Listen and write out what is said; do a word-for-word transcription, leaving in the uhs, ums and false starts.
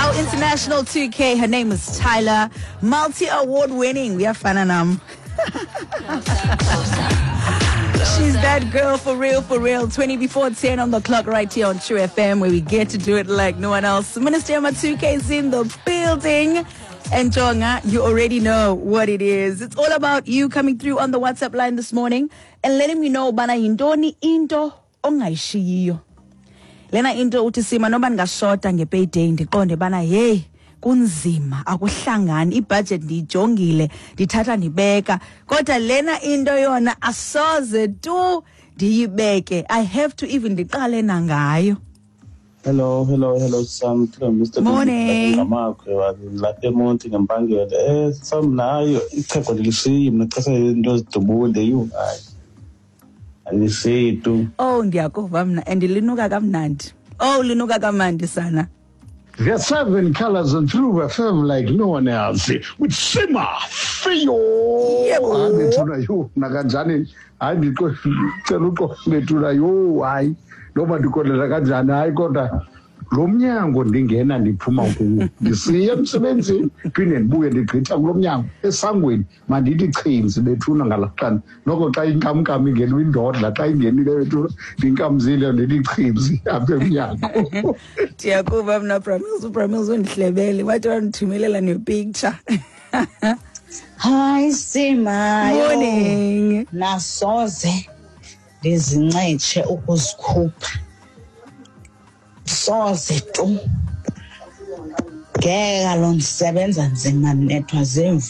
Our international two K, her name is Tyla, multi-award winning. Uyafana nam. She's that girl for real, for real. twenty before ten on the clock right here on True F M, where we get to do it like no one else. Minister two K is in the building. And Jonga, you already know what it is. It's all about you coming through on the WhatsApp line this morning and letting me know bana yintoni into ongayishiyiyo. Lena into uthi, "Sima, noba ndingashota ngepayday, ndiqonde bana hey, kunzima, akuhlangani, ibudget ndiyijongile, ndithatha ndibeka, kodwa lena into yona asoze tu ndiyibeke. I have to even ndiqale nangayo." Hello, hello, hello, Sam. Mister Morning. Ngamakwe lapha eMonti ngempangelo. Eh, Sam, nayo ichego ndilishiyi mna xa into zidubule yhu, hayi. Alishiyi tu. Oh, ndiyakuva mna, and linuka kamnandi. Oh, linuka kamnandi sana. The seven colors and True F M like no one else. With Sima Fiyo. Yebo. Hayi bethuna, yho, nakanjani, hayi, ndicela uxolo bethuna, yho, hayi, noba ndikolela kanjani, hayi, kodwa lo mnyango ndingena ndiphuma kuwo ndisiya emsebenzini, phinde ndibuye, ndigqitha kulo mnyango esangweni, mandithi chinzi bethuna ngalaa xana noko xa inkamnkam ingena indodla, xa ingenile bethuna, ndinkamzile, ndithi chinzi apha emnyango. Ndiyakuva mna, Bramils. UBramils undihlebele wathi wandithumelela nepicture. Hayi Sima. Morning. Nasoze ndizincitshe ukuzikhupha. Soze tu. Ngeke kaloku, ndisebenza nzima, ndinethwa ziimvula.